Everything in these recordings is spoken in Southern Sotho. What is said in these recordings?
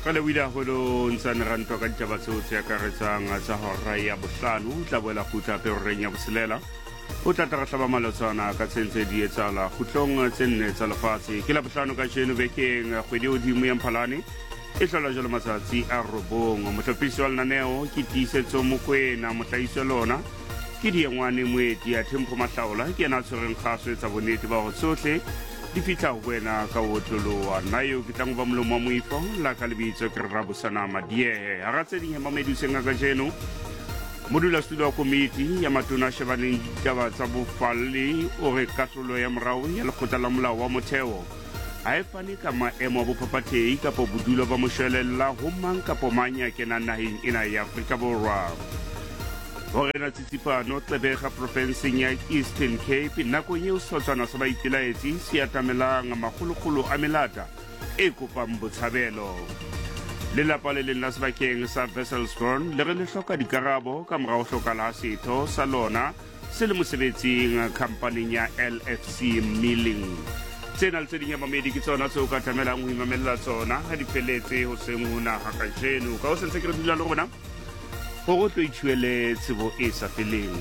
Re lebohile haholo ntsane ra ntwa ka ditaba tseo tse akaretsang tsa hora ya bohlano. O tla boela kgutla hape horeng ya botshelela. O tla tla re hlaba malotsana ka tse ntse di etsahala kgutlong tse nne tsa lefatshe. Ke Labohlano kajeno bekeng, kgwedi e hodimo ya Mphalane e hlola jwalo matsatsi a robong. Mohlophisi wa lenaneo ke Tiisetso Mokwena, mohlahisi wa lona ke Diengwane Moeti, athe Mpho Mahlaola ke yena a tshwereng kgaso etsa bonnete ba hore tsohle di fihla ho wena ka ho otloloha. Nna eo ke tlang ho ba molomo wa moifo la ka lebitso ke Rabosana Madiehe. Hara tse ding he mamedi hoseng a kajeno, modulasetulo wa komiti ya matona a shebaneng le ditaba tsa bofalli o re kahlolo ya morao ya lekgotla la molao wa motheo ha e fane ka maemo a bophaphathehi kapa bodulo ba moshwelella ho mang kapa mang ya kenang naheng ena ya Afrika Borwa. Ho rena tsitsipano Gqeberha profenseng ya Eastern Cape nakong eo sehlotshwana sa baipelaetsi se atamelang makgolokgolo a melata e kopang botshabelo. Lelapa le leng la sebakeng sa Wesselsbron le re le hloka dikarabo ka mora ho hlokahala ha setho sa lona se le mosebetsing khampaning ya LFC Milling. Tsena le tse ding ya mamedi ke tsona tseo ka tlamelang ho imamella tsona ha di feletse ho seng ho naha kajeno. Ka ho sentse ke re dula le rona gore o tlo ithuele tsebo e sa feleng.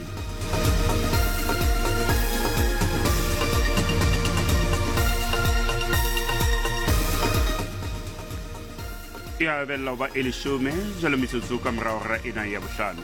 E a bella ho ba e leshome jalo metsotso ka morago ra ena ya bohlano.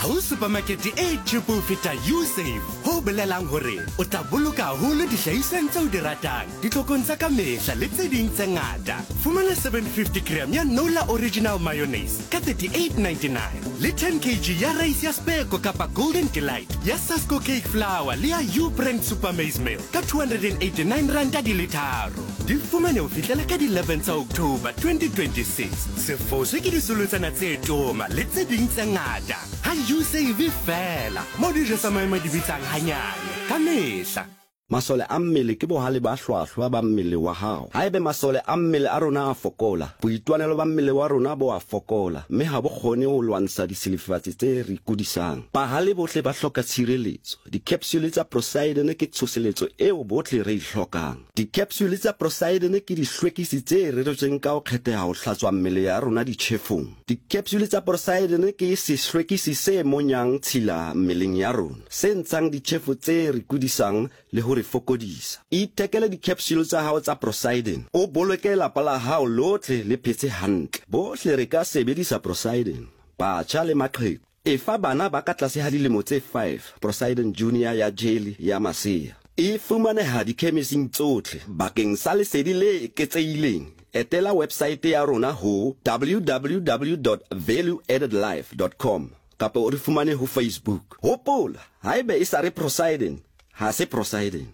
Ha ho supermarket e cheap ho feta Usave, ho bolelang hore o tla boloka haholo dihlahisweng tseo di ratang, ditlhokong tsa ka mehla le tse ding tse ngata. Fumana 750 gram ya Nola Original Mayonnaise ka 38.99 le 10 kg ya rice ya Speko kapa Golden Delight ya Sasko Cake Flour le ya U-Brand Super Maize Meal ka 289 ranta di le tharo. Di fumane ho fihlela ka di 11 tsa October 2026. Se foswe ke disolotsana tse toma le tse ding tse ngata ha Usave feela, moo dijo tsa maemo di bitsang hanyane ka mehla. Masole a mmele ke bohale ba hlwahlwa ba mmele wa hao. Haebe masole a mmele a rona a fokola, boitwanelo ba mmele wa rona bo a fokola mme ha bo kgone ho lwantsha disilifatsi tse re kudisang. Bahale bohle ba hloka tshireletso. Dikepsule tsa Procyden ke tshoseletso eo bohle re e hlokang. Dikepsule tsa Procyden ke dihlwekisi tse reretsweng ka ho kgetheha ho hlatswa mmele ya rona ditjhefong. Dikepsule tsa Procyden ke sehlwekisi se monyang tshila mmeleng ya rona, se ntshang ditjhefo tse re kudisang le ho re fokodisa. Ithekele dikepsule tsa hao tsa Procyden, o boloke lapa la hao lohle le phetse hantle. Bohle re ka sebedisa Procyden, batjha le maqheku. Efa bana ba ka tlase ga dilemo tse 5 Procyden Junior ya jeli ya masea. E fumaneha dikhemising tsohle. Bakeng sa lesedi le eketsehileng, etela websaete ya rona ho www dot valueaddedlife dot com kapa o re fumane ho Facebook. Hopola, haeba e sa re Procyden, ha se Procyden.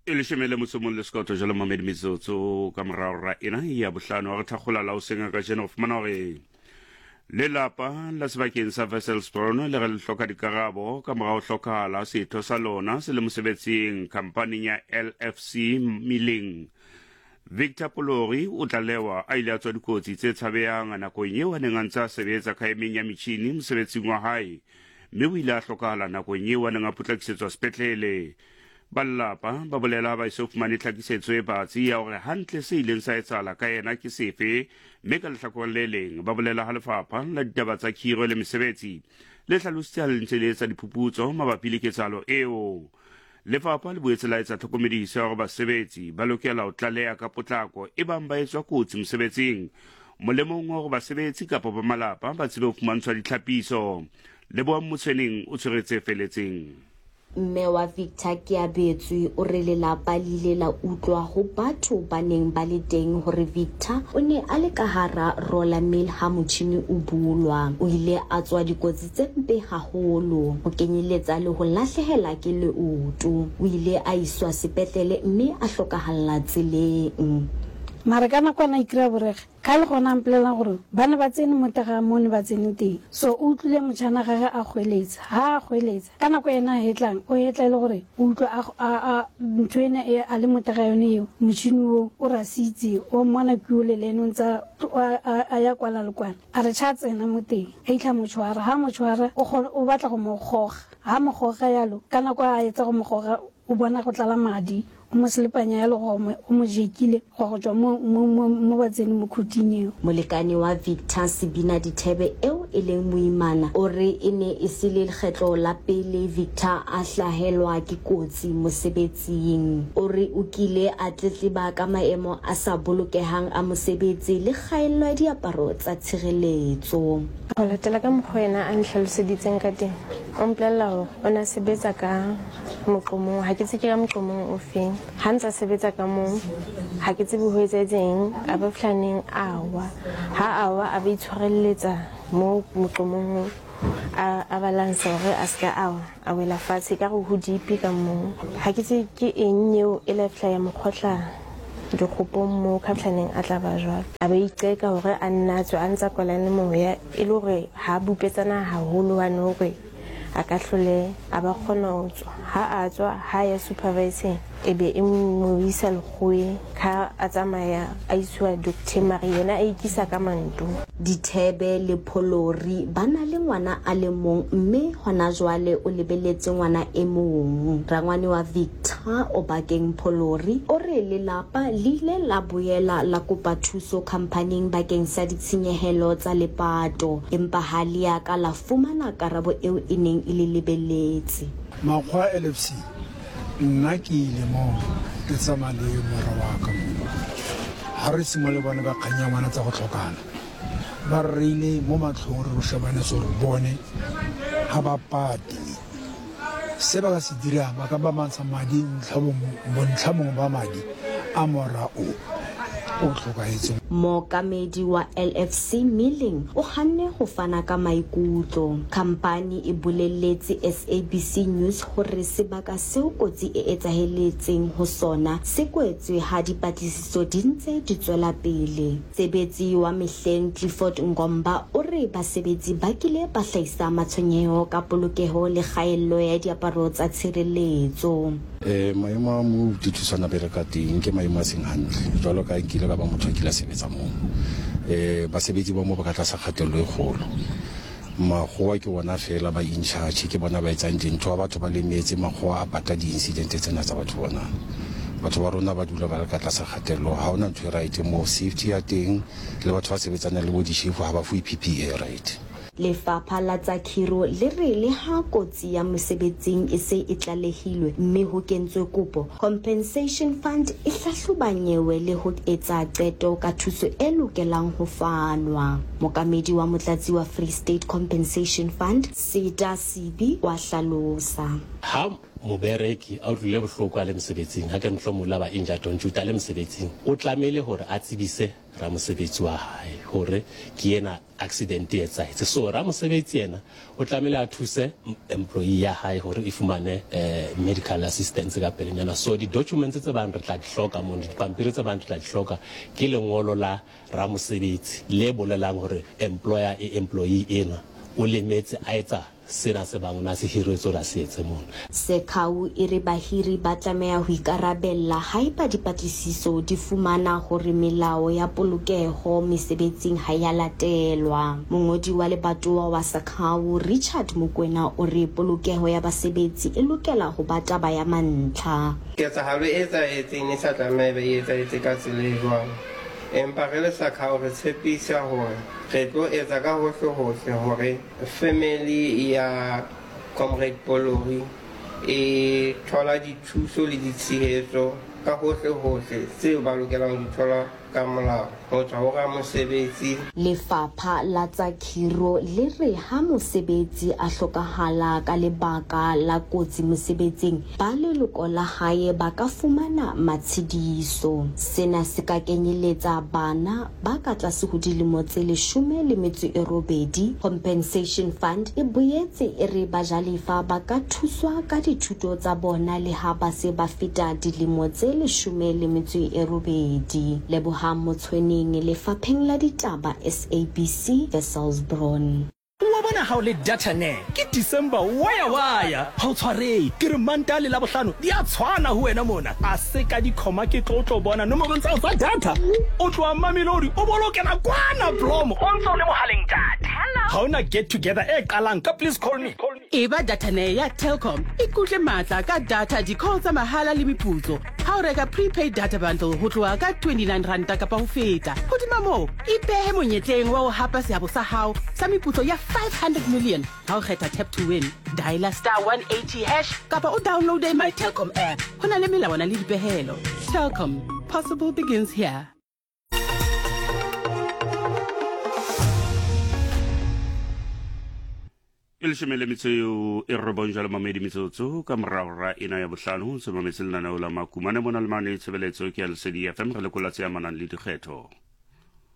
E leshome le motso mong le sekoto jalo mamedi metsotso ka morago ra ena ya bohlano wa re thakgola la o senga ka jeno go fumana gore lelapa la sebakeng sa Wesselsbron le re le hloka dikarabo ka morago hlokagala setho sa lona se le mosebetsing khampaning ya LFC Milling. Victor Polori o tlalewa a ile a tswa dikotsi tse tshabehang nakong eo a neng a ntse a sebetsa khaemeng ya metjhini mosebetsing wa hae mme o ile a hlokahala nakong eo a neng a potlakisetswa sepetlele. Ba lelapa ba bolela ha ba eso fumane tlhakisetso e batsi ya hore hantle se ileng sa etsahala ka yena ke sefe, mme ka lehlakoreng le leng ba bolela ha lefapha la ditaba tsa khiro le mesebetsi le hlalositse ha le ntse le etsa diphuputso mabapi le ketsahalo eo. Lefapha le boetse la etsa tlhokomediso ya hore basebetsi ba lokela ho tlaleha ka potlako ebang ba etswa kotsi mosebetsing, molemong wa hore basebetsi kapa ba malapa ba tsebe ho fumantshwa ditlhapiso. Lebohang Motshweneng o tshwere tse feletseng. Mme wa Victor Keabetswe o re lelapa le ile la utlwa ho batho ba neng ba le teng hore Victor o ne a le ka hara roller mill ha motjhini o bulwa. O ile a tswa dikotsi tse mpe haholo, ho kenyeletsa le ho lahlehela ke leoto. O ile a iswa sepetlele mme a hlokahalla tseleng. Mara ka nakwana a ikry-a borega, ka le gona a mpolelela gore ba ne ba tsene mo tega mo ne ba tsene teng. So o utlwile motšhana gage a goeletsa, ha a goeletsa, ka nako ena a hetlang, o hetla e le gore o utlwa a, a, a, ntho ena e a le mo tega yone eo, motšhini wo o rasitse, o mmona ke ole le ene o ntse a, a, a ya kwana le kwana. A re tšha tsena mo teng, a itlha mo tšhwara. Ha a mo tšhwara, o kgona, o batla go mo goga. Ha a mo goga yalo, ka nako a etsa go mo goga, O bona go tlala madi, o mo selepanya ya legome, o mo jekile gwa go tšwa mo, mo, mo, mo ba tsene mo khuting eo. Molekane wa Victor Sebina Dithebe eo e leng moimana o re e ne e se le lekgetlo la pele Victor a hlahelwa ke kotsi mosebetsing. O re o kile a tletleba ka maemo a sa bolokehang a mosebetsi le kgaello ya diaparo tsa tshireletso. Ho latela ka mokgwa yena a ntlhaloseditseng ka teng, o mpolella hore o ne a sebetsa ka moqomong, ha ke tsebe ke ka moqomong o feng. Ha ntse a sebetsa ka moo, ha ke tsebe ho etsahetse eng, a ba fihla neng a wa. Ha a wa a ba itshwarelletsa moo moqomong oo, a a balansa hore a se ka a wa, a wela fatshe ekare ho deep ka moo. Ha ke tsebe ke eng eo e la fihla ya mo kgohla dikgopong moo ka fihla neng a tla ba jwalo. A ba iqeka hore a nne a tswe a ntsa kwalane moya e le hore ha bupetsana haholo hwane hore a ka hlole a ba kgona ho tswa. Ha a tswa, ha a ya supervising e be e mo isa lekgoweng. Ha a tsamaya a isiwa docteng mare yena a ikisa ka manto. Dithebe le Pholori ba na le ngwana a le mong mme hona jwale o lebeletse ngwana e mong. Rangwane wa Victor, Obakeng Pholori, o re lelapa le ile la boela la kopa thuso khamphaning bakeng sa ditshenyehelo tsa lepato empa ha lea ka la fumana karabo eo e neng e le lebeletse. Makgowa LFC, Nna ke ile moo ke tsamaya le mora wa ka moo. Ha re simolola le bone ba kgang ya ngwana tsa go tlhokana, ba re reile mo matlhong re ro shebane so re bone ga ba pate. Se ba ka se dirang ba ka ba mantsha madi bontlha bongwe ba madi a mora o o tlhokahetseng. Mookamedi wa LFC Milling o hanne ho fana ka maikutlo. Khampani e bolelletse SABC News hore sebaka seo kotsi e etsaheletseng ho sona se kwetswe ha dipatlisiso di ntse di tswela pele. Tsebetsi wa mehleng Clifford Ngomba o re basebetsi ba kile ba hlahisa matshwenyeho ka polokeho le kgaello ya diaparo tsa tshireletso. Maemo a moo dithuswana bereka teng ke maemo a seng hantle jwalo ka nkile ka ba motho a kile a sebetsa moo. Basebetsi ba moo ba ka tlasa kgatello e kgolo. Makgowa ke bona fela ba in charge, ke bona ba etsang dintho. Ha batho ba lemetse, makgowa a pata di-incident tsena tsa batho bona. Batho ba rona ba dula ba le ka tlasa kgatello. Ha hona ntho e right moo. Safety ya teng le batho ba sebetsanang le bo dishefu ha ba fuwe P_P_E e right. Lefapha la tsa Khiro le re le ha kotsi ya mosebetsing e se e tlalehilwe mme ho kentswe kopo, Compensation Fund e hlahloba nyewe le ho etsa qeto ka thuso e lokelang ho fanwa. Mokamedi wa motlatsi wa Free State Compensation Fund, Seta Sibi, wa hlalosa. Ha mobereki a utlwile bohloko a le mosebetsing, ha ke re mohlomong o ile a ba injured on duty a le mosebetsing, o tlamehile hore a tsebise ramosebetsi wa hae hore ke ena accident e etsahetse. So ramosebetsi yena o tlamehile a thuse employee ya hae hore e fumane medical assistance ka pelenyana. So di-documents tse bang re tla di hloka mono, dipampiri tse bang re tla di hloka ke lengolo la ramosebetsi le bolelang hore employer e employee enwa o lemetse a etsa sena se bang o ne a se hiretswe hore a se etse mono. Sekhau e re bahiri ba tlameha ho ikarabella haeba dipatlisiso di fumana hore melao ya polokeho mesebetsing ha ya latelwa. Mongodi wa lebatowa wa Sekhau, Richard Mokoena o re polokeho ya basebetsi e lokela ho ba taba ya mantlha. Ketsahalo e etsahetseng e sa tlameha e be e etsahetse ka tsela e jwalo. Empa re le Sakhau re tshepisa hore re tlo etsa ka hohle-hohle hore Family ya Comrade Polori e thola dithuso le ditshehetso ka hohle-hohle tseo ba lokelang ho di thola ka molao ho tswa ho ramosebetsi. Lefapha la tsa khiro le re ha mosebetsi a hlokahala ka lebaka la kotsi mosebetsing, ba leloko la hae ba ka fumana matshediso. Sena se ka kenyeletsa bana ba ka tlase ho dilemo tse 18. Compensation Fund e boetse e re bajalefa ba ka thuswa ka dithuto tsa bona le ha ba se ba feta dilemo tse 18. Lebohang Motshweneng, Lefapheng la Ditaba, SABC, Wesselsbron. Wa bona ha o le data ne ke December waya waya ha o tshwarehe ke re Mantaha le Labohlano di a tshwana ho wena mona a se ka dikhoma ke tlo tlo bona nomorong tsa hao tsa data o tloha Mamelodi o bolo kena kwana Blom o ntse o le mohaleng ntate ha ona get together e qalang ka please call me. Eba datanee ya Telkom, ikutlwe matla ka data, di-call tsa mahala le meputso ha o reka prepaid data bundle ho tloha ka 29 ranta kapa ho feta. Hodima moo, ipehe monyetleng wa ho hapa seabo sa hao sa meputso ya 500 million ha o kgetha Tap to Win. Dialer star 180 hash kapa o downloade My Telkom app. Ho na le melawana le dipehelo. Telkom, possible begins here. E leshome le metso eo e robong jalo mamedi metsotso ka morago ra ena ya bohlano se mametse lenaneo la makumane mona le mane tshebeletso ke ya lesedi fm re lekola tse amanang le dikgetho.